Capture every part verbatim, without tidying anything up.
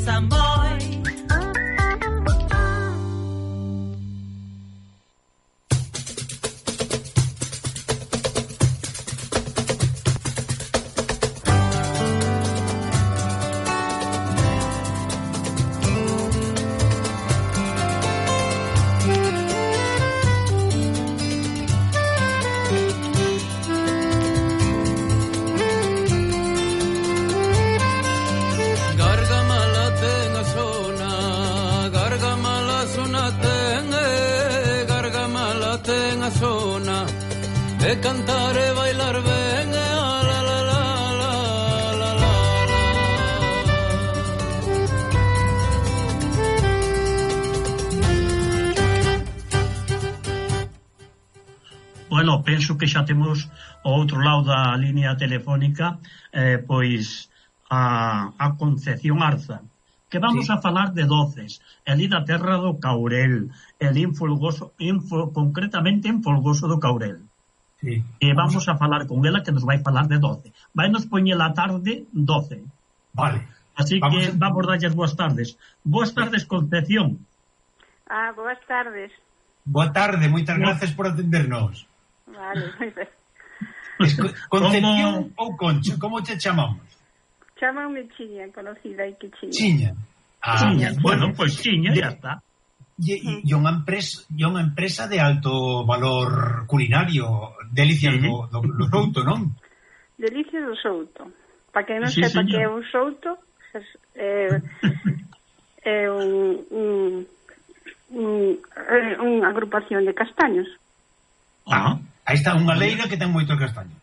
Samboy. E cantar e bailar ben, e la la la la la la la. Bueno, penso que xa temos ao outro lado da línea telefónica eh, pois a, a Concepción Arza, que vamos sí. a falar de doces, ali da terra do Caurel, ali en Folgoso, en, concretamente en Folgoso do Caurel. Sí. E vamos a falar con ela, que nos vai falar de doce. Vai nos poñer a tarde doce. Vale. Así vamos que a... vamos darlles boas tardes. Boas tardes, Concepción. Ah, boas tardes. Boa tarde, moitas gracias por atendernos. Vale, moi ben. Concepción ou Concha, como te chamamos? Chámame Chiña, conocida aí que Chiña. Chiña. Ah, Chiña. Bueno, pois pues Chiña, ya está. E, e, e unha empresa, e unha empresa de alto valor culinario, Delicias sí. do, do, do Souto, non? Delicias do Souto. Para quen non sí, sepa señor. que é un souto, é, é un, un, un, unha agrupación de castaños. Ah, aí está unha leira que ten moitos castaños.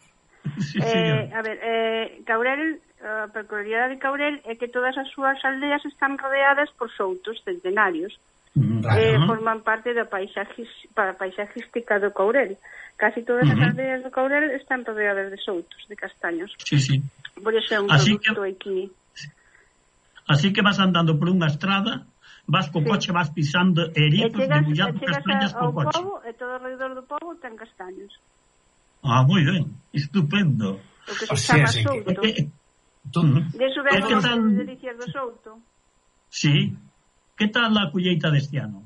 Sí, eh, a ver, eh, Caurel, a peculiaridade de Caurel é que todas as súas aldeas están rodeadas por soutos centenarios. Claro. Eh, forman parte da paisaxis, para paisajística do Caurel. Casi todas uh-huh. as aldeas do Caurel están rodeadas de soutos, de castaños. Sí, sí. Por eso é un así produto que, aquí. Así que vas andando por unha estrada, vas co sí. coche, vas pisando erizos, debullando castañas co coche. Pobo, e todo alrededor do pobo ten castaños. Ah, moi ben, estupendo. O que se o chama sea, souto. Que, tú, uh-huh. De iso vemos as tal... delicias do souto. Sí. Que tal a colleita deste ano?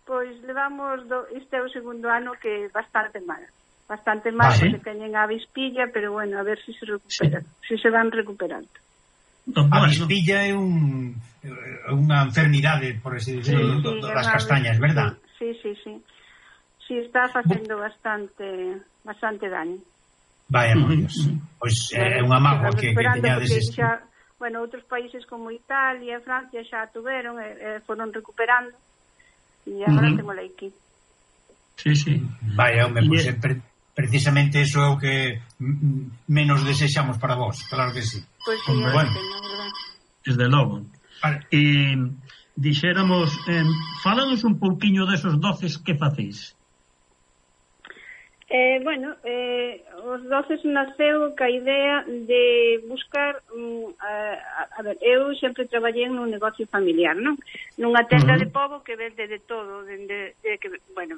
Pois levamos, do, este é o segundo ano que bastante mal. Bastante mal, ah, ¿sí? Porque teñen a avispilla, pero bueno, a ver se si se recuperan, si se van recuperando. No, a avispilla é un unha enfermidade, por así decirlo, sí, sí, das castañas, verdad? Sí, sí, sí. Sí, está facendo bastante bastante daño. Vaya, por Dios. Pois pues, é unha mágoa que, que teñades este... Xa, bueno, outros países como Italia, Francia xa tuveron e eh, foron recuperando e agora uh-huh. temos aquí. Sí, sí. Vaya, home, pues, é pre precisamente eso é o que menos desexamos para vos, claro que sí. Pois pues sí, bueno, desde logo. Vale. E dixéramos, eh, fálanos un pouquiño desos doces que facéis. Eh, bueno, eh, os doces naceu ca idea de buscar um, a, a ver, eu sempre traballei nun negocio familiar, non? Nunha tenda uh-huh. de pobo que vende de todo, de, de, de que, bueno,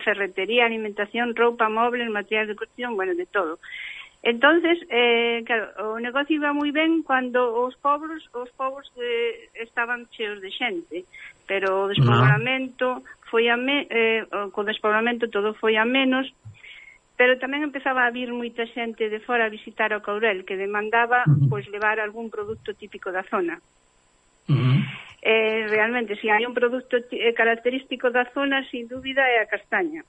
ferretería, alimentación, roupa, móviles, materiais de construcción, bueno, de todo. Entonces, eh, claro, o negocio iba moi ben cando os pobos, os pobos eh, estaban cheos de xente, pero o despoblamento foi a me, eh, co despoblamento todo foi a menos. Pero tamén empezaba a vir moita xente de fora a visitar o Caurel, que demandaba uh-huh. pois levar algún produto típico da zona. Uh-huh. Eh, realmente, se si hai un produto eh, característico da zona, sin dúbida é a castaña.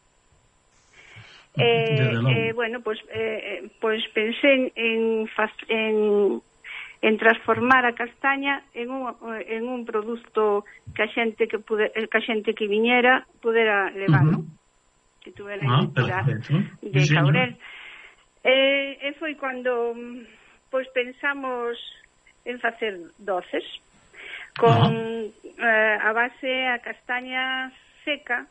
Eh, eh, bueno, pois, eh, pois pensei en, en, en transformar a castaña en un, en un produto que a xente que, pude, que a xente que viñera pudera levar, uh-huh. non? Que tuve la identidad ah, de sí, Caurel. Eh, e foi cando pois pensamos en facer doces con eh, a base a castaña seca,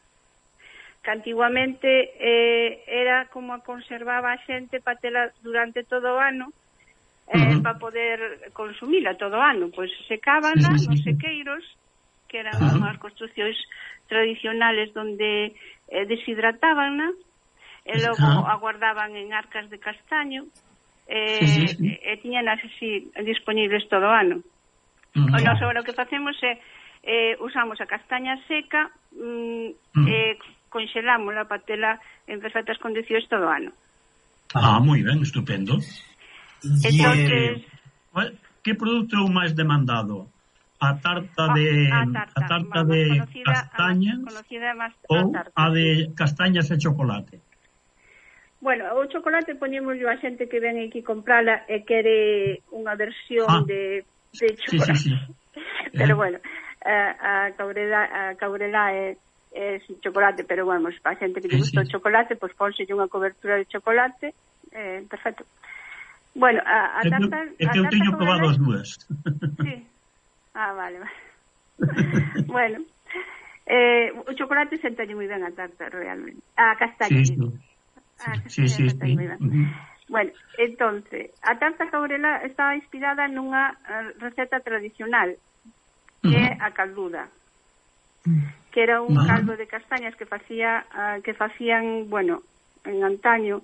que antiguamente eh, era como a conservaba a xente para tela durante todo o ano, eh, uh-huh. para poder consumila todo o ano. Pois secábana sí, sí, sí. nos sequeiros, que eran uh-huh. unhas construccións tradicionales donde eh, deshidratábanna e logo uh-huh. aguardaban en arcas de castaño eh, sí, sí, sí. e tiñan así disponibles todo o ano. Uh-huh. O noso agora o que facemos é eh, usamos a castaña seca mm, uh-huh. eh, conxelámola para tela en perfectas condicións todo o ano. Ah, moi ben, estupendo. Entonces, eh, que produto é o máis demandado? A tarta de a tarta, a tarta de conocida, castañas a conocida más, ou a, tarta, a de castañas e chocolate? Bueno, o chocolate poñemos a xente que ven aquí comprala e quere unha versión ah, de, de chocolate. Sí, sí, sí. Pero eh. bueno, a, a caurela, a caurela é, é sin chocolate, pero bueno, para a xente que lle gusta sí, sí. o chocolate, pois pues, pónselle unha cobertura de chocolate, eh, perfecto. Bueno, a, a tarta... É que eu teño probado as dúas. Sí. Ah, vale, vale. Bueno, eh, o chocolate sentalle moi ben a tarta, realmente. A castaña. Sí, sí. A sí, sí, sí. Moi ben. Uh-huh. Bueno, entonces, a tarta caurela estaba inspirada nunha receta tradicional, que é uh-huh. a calduda, que era un uh-huh. caldo de castañas que facía uh, que facían, bueno, en antaño,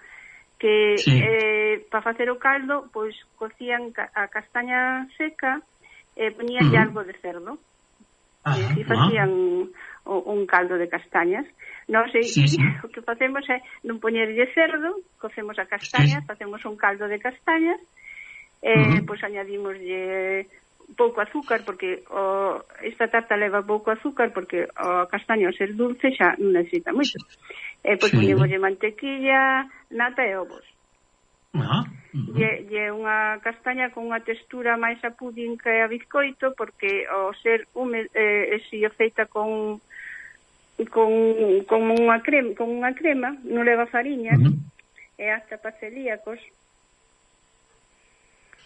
que sí. eh, para facer o caldo, pois cocían a castaña seca e eh, poñían uh-huh. algo de cerdo. Uh-huh. E así facían uh-huh. un caldo de castañas. Non sei, sí, sí. O que facemos é non poñerlle cerdo, cocemos a castaña, sí. Facemos un caldo de castañas, eh, uh-huh. pois añadimoslle pouco azúcar, porque o, esta tarta leva pouco azúcar, porque o castaño ao ser dulce xa non necesita moito. Eh, pois sí. Poñemoslle mantequilla, nata e ovos. Uh-huh. Uh-huh. E, e unha castaña con unha textura máis a pudín que a bizcoito, porque ao ser húmedo, eh, si o feita con con, con unha crema, con unha crema, non leva fariñas, uh-huh. e hasta para celíacos.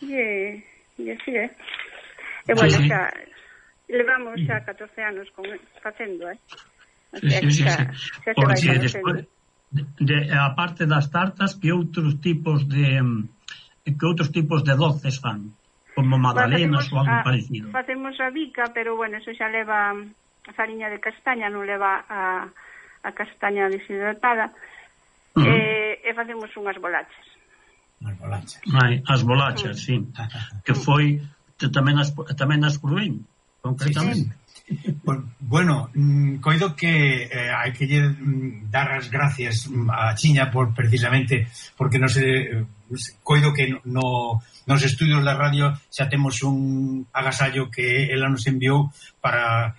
E, e así é. E bueno, sí, sí. Xa levamos xa catorce anos con facendo, eh? O sea, sí, sí, xa, sí. xa se vai Porque despois, de, de, a parte das tartas, que outros tipos de que outros tipos de doces fan? Como magdalenas ou algo a, parecido? Facemos a bica, pero bueno, eso xa leva a fariña de castaña, non leva a, a castaña deshidratada. Uh-huh. e, e facemos unhas bolachas. As bolachas. Ai, as bolachas, uh-huh. Sí. Que foi tamén as, tamén as pruén, concretamente. Sí, sí. Bueno, coido que eh, hai que lle dar as gracias a Chiña por precisamente porque non se coido que no, nos estudios da radio xa temos un agasallo que ela nos enviou para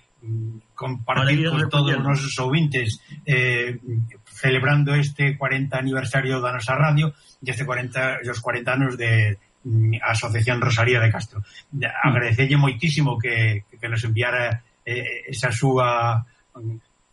compartir con todos os nosos ouvintes, eh, celebrando este cuarenta aniversario da nosa radio e este cuarenta, os cuarenta anos de a Asociación Rosalía de Castro. Agradecelle moitísimo que, que nos enviara eh, esa súa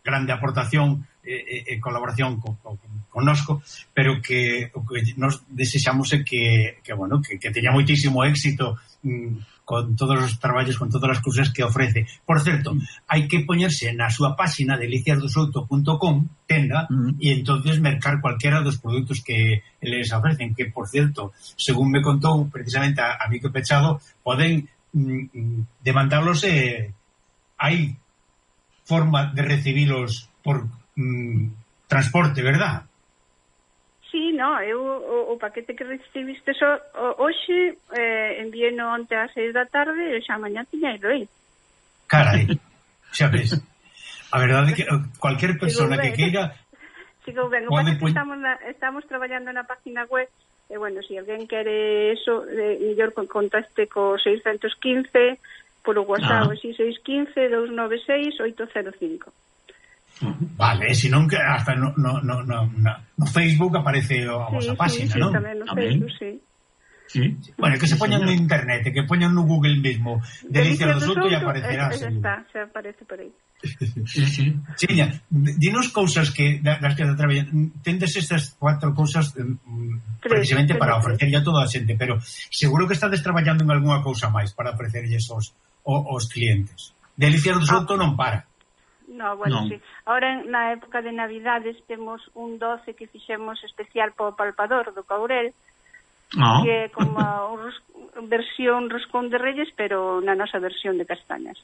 grande aportación e eh, eh, colaboración con, con, con nosco, pero que o que nos desexamos é que, que, bueno, que, que teña moitísimo éxito mm, con todos os traballos, con todas as cousas que ofrece. Por certo, hai que poñerse na súa páxina delicias do souto punto com, tenda, uh-huh. E entonces mercar cualquiera dos produtos que les ofrecen, que, por certo, según me contou precisamente a, a Mico Pechado, poden mm, demandarlos, eh, hai forma de recibilos por mm, transporte, verdad? Sí, no, eu o, o paquete que recibiste so, o, hoxe eh, envieno onte ás seis da tarde e xa mañá tiña ido aí. Carai, xa ves. A verdade é que cualquier persona que queira Sigo ben, o pode... que estamos, na, estamos traballando na página web e, bueno, se si alguén quere eso, eh, mellor contacte co seiscentos quince polo WhatsApp, ah. seis un cinco, dous nove seis, oito cero cinco. Vale, se non que hasta no, no, no, no, no Facebook aparece a vosa sí, página, sí, non? Sí, tamén no Facebook, sí. Sí. Bueno, que se poñan no internet, que poñan no Google mismo Delicias do Souto e aparecerá. Eh, está, se aparece por aí. Sí, sí. Chiña, dinos cousas que das que traballan. Tendes estas cuatro cousas um, precisamente para ofrecerlle a toda a xente, pero seguro que estades traballando en algunha cousa máis para ofrecerlles aos, aos clientes. Delicias do Souto ah. non para. No, bueno, no. Sí. Ahora, na época de Navidades, temos un doce que fixemos especial para o palpador do Caurel, no. Que é como un ros... versión roscón de Reyes, pero na nosa versión de castañas.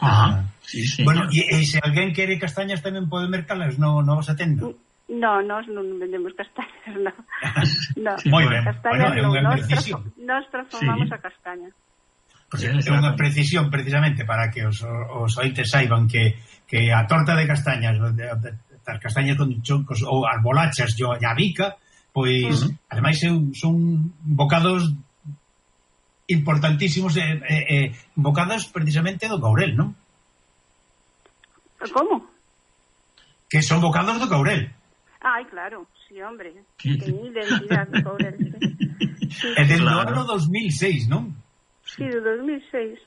Ah, sí, sí. Bueno, e, e se alguén quere castañas tamén pode mercalas no, no vosa tenda? No, nós non vendemos castañas, no. No. Sí, moi ben. Castañas Bueno, non, nós, tra... nós transformamos sí. A castaña. Porque é unha precisión precisamente para que os, os ointes saiban que, que a torta de castañas, as castañas con choncos ou as bolachas e a bica, pois, uh-huh. ademais son bocados importantísimos e eh, eh, bocados precisamente do Courel, non? Como? Que son bocados do Courel. Ai, claro, sí, hombre. Ten identidade do Courel, sí. Sí, é del claro. ano dos mil seis, non? Sí, do dos mil seis.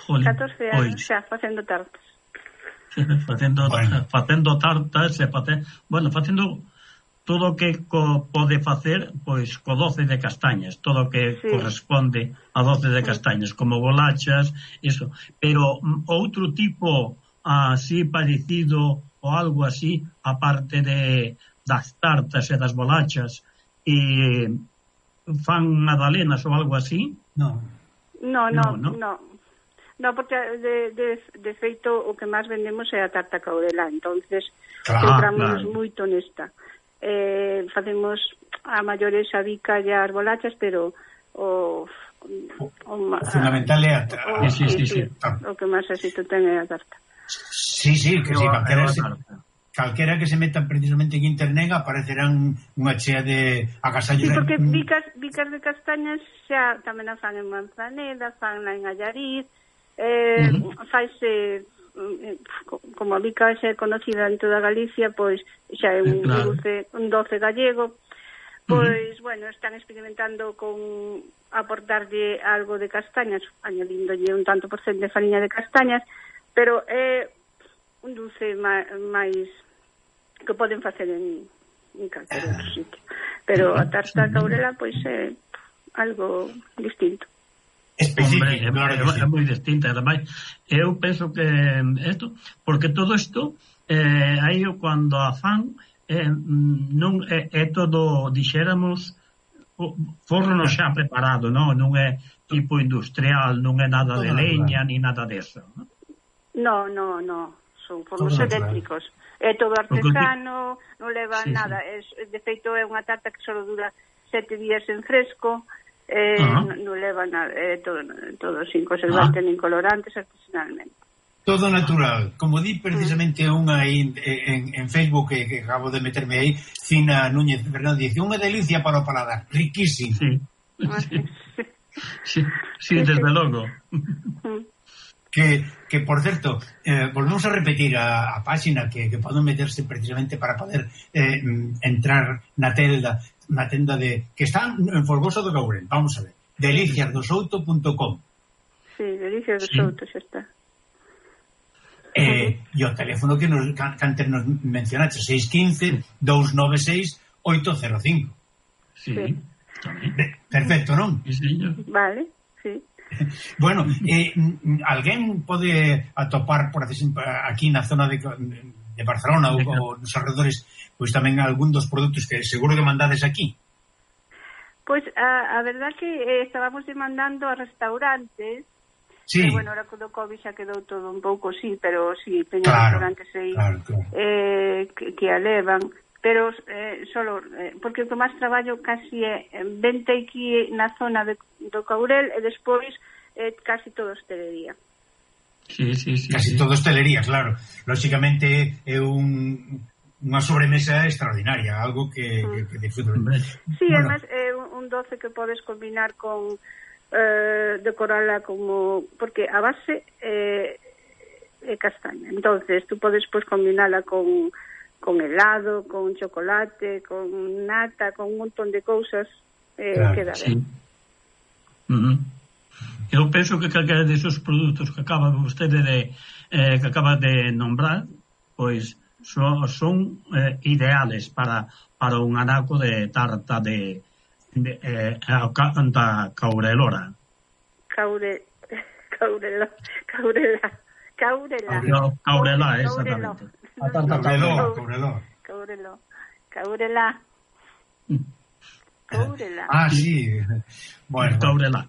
Jolín, catorce anos pois. xa facendo tartas. facendo, Bueno. facendo tartas e face, bueno, facendo todo o que co, pode facer pois co doce de castañas, todo o que sí. corresponde a doce de castañas, como bolachas, eso, pero mm, outro tipo así parecido ou algo así, aparte de das tartas e das bolachas, e fan magdalenas ou algo así? Non. No, no, No, no. no. No, porque de, de, de feito o que máis vendemos é a tarta Caurela, entonces Claro, centramos claro. moito nesta. Eh, facemos a maiores a bica e as bolachas, pero o, o, o, O fundamental é a, o, a, Sí, sí, sí, sí. o que máis éxito ten é a tarta. Sí, sí, que si Eu- calquera, eu a se, tarta. calquera que se meta precisamente en internet aparecerán unha chea de agasallos. Sí, porque de- bicas, bicas de castañas xa tamén a fan en Manzaneda, fan en Allariz, eh, uh-huh. faise como a bica xa é conocida en toda Galicia, pois xa é un Claro. dulce, un doce gallego, pois, uh-huh. bueno, están experimentando con aportarlle algo de castañas, añadíndolle un tanto por cento de fariña de castañas, pero é un dulce máis, máis que poden facer en, en calquer outro sitio. Pero a tarta Caurela, pois, é algo distinto. específico, Hombre, é, claro que é, sí. é moi distinta. Ademais, eu penso que isto, porque todo isto eh, aí cando a fan eh, non é, é todo, dixéramos, o forno xa preparado, non? Non é tipo industrial, non é nada de Todo leña natural. ni nada deso, non? No, no, no, son fornos Todo natural. eléctricos. É todo artesano, non leva Sí, nada. Es, de feito, é unha tarta que só dura sete días en fresco, eh, Ah. non, non leva nada, é todo, todo sin conservantes Ah. nin colorantes artesanalmente. Todo natural. Como di precisamente unha aí en, en, en Facebook que, que acabo de meterme aí, Cina Núñez Fernández, dice, unha delicia para o paladar, riquísimo. Sí. Sí, sí, sí, desde logo. Que, que por certo, eh, volvemos a repetir a, a páxina que, que poden meterse precisamente para poder eh, entrar na tenda, na tenda de que está en Folgoso do Courel. Vamos a ver. delicias do souto punto com. Sí, delicias Sí. dos outros, xa está. Eh, e o teléfono que nos, que antes nos mencionaste, seis uno cinco, dos nove seis, oito cero cinco. Sí, Sí. tamén. Perfecto, non? Sí, señor. Vale, sí. Bueno, eh, alguén pode atopar por aquí na zona de, de Barcelona ou, ou nos alrededores, pois tamén algún dos produtos que seguro que mandades aquí. Pois a, a verdad que eh, estábamos demandando a restaurantes. Sí, Pero, bueno, ahora con o COVID xa quedou todo un pouco, sí, pero sí, teñen Claro, restaurantes aí claro, claro. eh, que, que a levan, pero eh, solo, eh, porque o que máis traballo casi é vente aquí na zona de, do Courel e despois eh, casi todo hostelería. Sí, sí, sí. casi sí. todo hostelería, claro. Lóxicamente é un, unha sobremesa extraordinaria, algo que, que, que disfruto. Hombre, Sí, Bueno. además é un, un doce que podes combinar con eh, decorala como, porque a base eh, é castaña, entonces tú podes pues combinala con con helado, con chocolate, con nata, con un montón de cousas, eh, Claro, queda sí. ben. Uh-huh. Eu penso que calquera desos produtos que acaba vostede de eh, que acaba de nombrar, pois son, son eh, ideales para para un anaco de tarta de, de eh, da Caurelora. Caure, caurela, caurela, caurela. No, Caurela, Caurelo. exactamente. A tarta Caureló, Caureló. Caurelo, caurela, caurela. Ah, sí. Bueno, Caurela.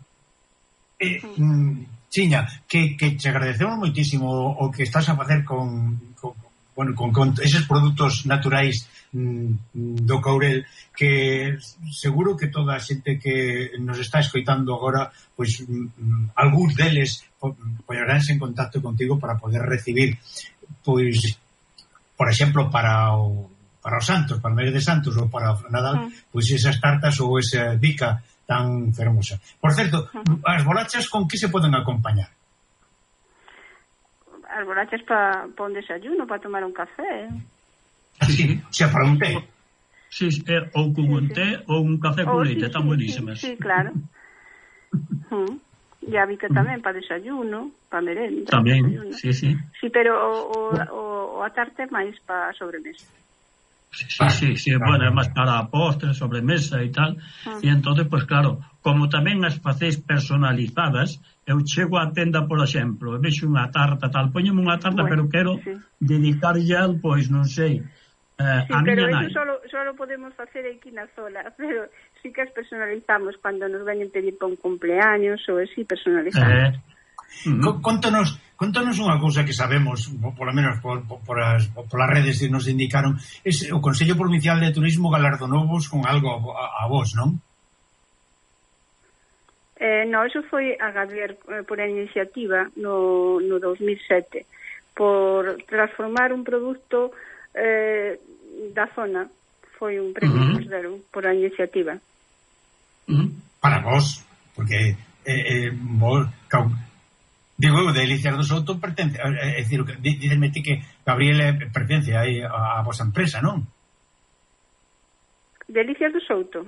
Eh, mm, Chiña, que, que te agradecemos moitísimo o que estás a facer con, con, bueno, con, con eses produtos naturais mm, do Courel, que seguro que toda a xente que nos está escoitando agora, pois mm, algúns deles poñeránse en contacto contigo para poder recibir, pois, por exemplo, para o para os santos, para o mes de santos ou para o Nadal, mm. pois esas tartas ou esa bica tan fermosa. Por certo, mm. as bolachas con que se poden acompañar? As bolachas para pa un desayuno, para tomar un café. Sí, o sea, para un té. Sí, eh, ou con un té ou un café con leite, están buenísimas. Sí, sí, claro. uh, e a bica tamén para desayuno, para merenda. Tamén, desayuno. sí, sí. Sí, pero o, o, o a tarte máis para sobremesa. Sí, sí, sí, sí, bueno, é máis para postre, sobremesa e tal. Uh. E entón, pues claro, como tamén as facéis personalizadas, eu chego á tenda, por exemplo, e vexo unha tarta tal, poñeme unha tarta, bueno, pero quero sí. dedicarlle al, pois, non sei, eh, sí, a miña nai. Pero eso solo, solo podemos facer aquí na zola, pero sí que as personalizamos cando nos veñen pedir para un cumpleaños, ou así personalizamos. Eh, Uh-huh. Contanos, contanos unha cousa que sabemos, polo menos por, por, por, as, por as redes que nos indicaron, es, o Consello Provincial de Turismo galardonouvos con algo a, a vos, non? Eh, no, eso foi a Gader eh, por a iniciativa no, no dos mil sete, por transformar un produto eh, da zona. Foi un premio uh-huh. que nos deron por a iniciativa. Uh-huh. Para vos, porque eh, eh, vos... Digo, eu, de Delicias do Souto pertence, é dicir, dícenme ti que Gabriel pertence aí a, a vosa empresa, non? Delicias do Souto?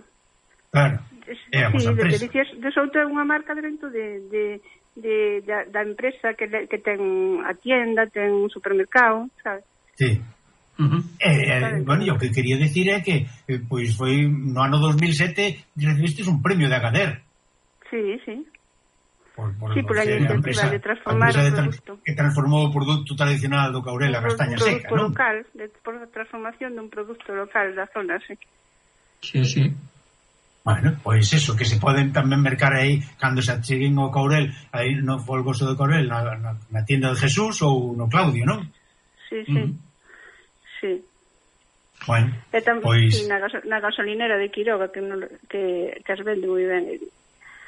Claro, é a vosa sí, empresa. Delicias do Souto é unha marca dentro de, de, de, de da empresa que, que ten a tienda, ten un supermercado, sabes? Sí. Uh-huh. Eh, eh, bueno, o que quería decir é que eh, pois foi no ano dos mil sete recibistes un premio de Agader. Sí, sí. Por, por, sí, por a iniciativa empresa, de transformar o produto. Que transformou o produto tradicional do Courel, a castaña seca, non? Un produto local, ¿no? de, por a transformación dun produto local da zona, sí. Sí, sí. Bueno, pois pues eso, que se poden tamén mercar aí cando se acheguen ao Courel, aí no Folgoso do Courel, na, na, na tienda de Jesús ou no Claudio, non? Sí, sí. Mm. Sí. Bueno, e tam, pois... sí, na, gaso, na gasolinera de Quiroga, que, non, que, que as vende moi ben.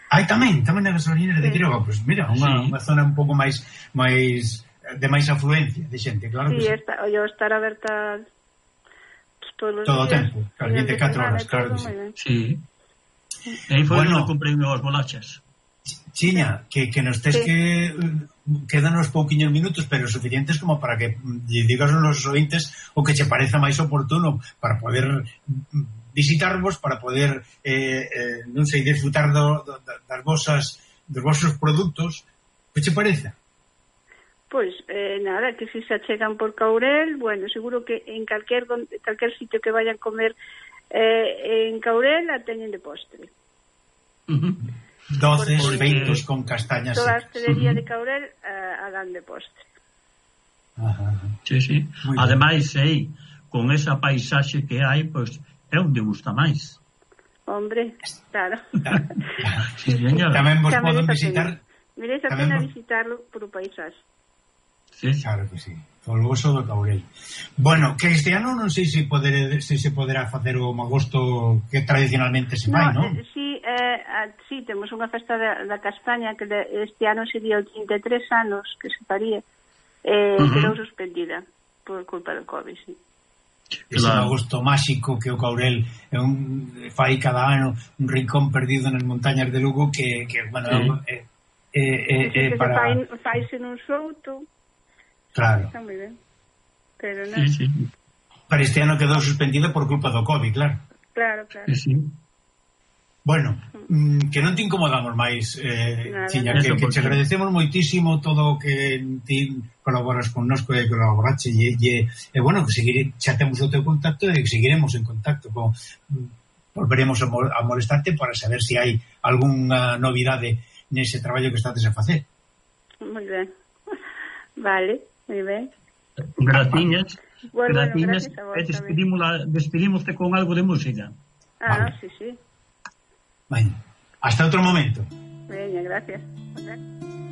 Ai, tamén, tamén na gasolinera sí. de Quiroga, pois pues mira, unha, sí. unha zona un pouco máis máis de máis afluencia de xente, claro sí, que sí. Está, o estar aberta pues, todos os todo o días, tempo, claro, vinte e catro horas, claro que sí. Sí. E aí foi bueno, onde comprei os bolachas. Chiña, que, que nos tes sí. que quedan uns pouquiños minutos, pero suficientes como para que lle digas aos nosos ointes o que che pareza máis oportuno para poder visitarvos, para poder eh, eh, non sei, disfrutar do, do, das vosas dos vosos produtos. Que che parece? Pois, eh, nada, que se se achegan por Courel, bueno, seguro que en calquer, calquer sitio que vayan comer eh, en Courel a teñen de postre. Uh-huh. Doces, feitos con castañas toda secas. Toda a hostelería uh-huh. de Courel uh, a dan de postre. Ajá. Sí, sí. Ademais, aí, con esa paisaxe que hai, pois, é onde gusta máis. Hombre, claro. Sí, tamén vos poden visitar... Merece a pena vos... visitarlo por o paisaxe. Sí, claro que sí. Folgoso do Courel. Bueno, que este ano non sei se poder, se, se poderá facer o magosto que tradicionalmente se fai, no, non? Eh, sí, eh, sí, temos unha festa da, da castaña que de, este ano sería o trinta e tres anos que se faría, eh, uh-huh. quedou suspendida por culpa do COVID, sí. Ese claro. Magosto máxico que o Courel é un, fai cada ano un rincón perdido nas montañas de Lugo que, que bueno, sí. é, é, é, é que para... fai, faise nun souto. Claro. Está moi ben. Pero non. Sí, sí. Para este ano quedou suspendido por culpa do COVID, claro. Claro, claro. Sí, sí. Bueno, mm, que non te incomodamos máis, eh, Chiña, que, que te agradecemos moitísimo todo o que ti colaboras connosco e colaborache e, e, e bueno, que seguire, xa temos o teu contacto e que seguiremos en contacto con, volveremos a, mol, a molestarte para saber se si hai algunha novidade nese traballo que estades a facer. Moi ben. Vale, moi ben. Graciñas. Bueno, Graciñas. Bueno, e despedimos con algo de música. Ah, vale. Sí, sí. Bueno, hasta outro momento. Veña, gracias. Okay.